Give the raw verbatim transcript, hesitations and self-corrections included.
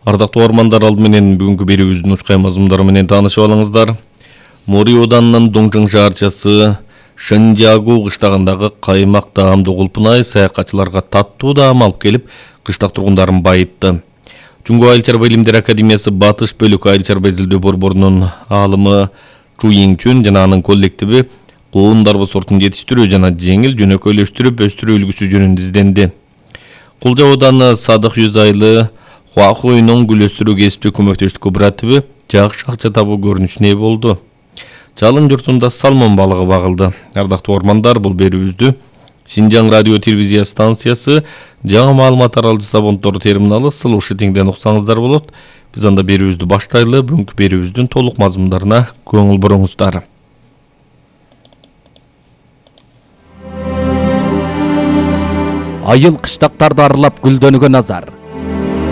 Ардактуу ормандар, алды менен бүгүнкү берүүбүздүн учкай мазмундары менен таанышып алыңыздар. Мори Оданынын Доңжоң шаарчасы Шэнжиагу кыштагындагы каймак даамдуу кулпунай саякатчыларга таттуу даам алып келип, кыштак тургундарын байытты. Жунго Айыл чарба илимдери академиясы Батыш бөлүк айыл чарба изилдөө борборунун аалымы Чу Йиңчүн жана анын коллективи коон дарбы сортун жетиштирүү жана жеңил жөнөкөйлөштүрүп өстүрүү үлгүсү жөнүндө изденди. Кулжа Ооданы Садык Жүз айлы Хуахуйнун гүл өстүрүү кесиптик көмөктөштүк кооперативи жакшы акча табуу көрүнүшүнө ээ болду. Жалын журтунда салмон балыгы багылды. Ардактуу ормандар, бул берүүбүздү Шинжаң радио телевизия станциясы жаңы маалымат таралжы сабонтору терминалы Слушатиңден уксаңыздар болот. Биз анда берүүбүздү баштайлы, бүгүнкү берүүбүздүн толук мазмундарына көңүл буруңуздар. Айыл кыштактарды аралап гүлдөнүүгө назар.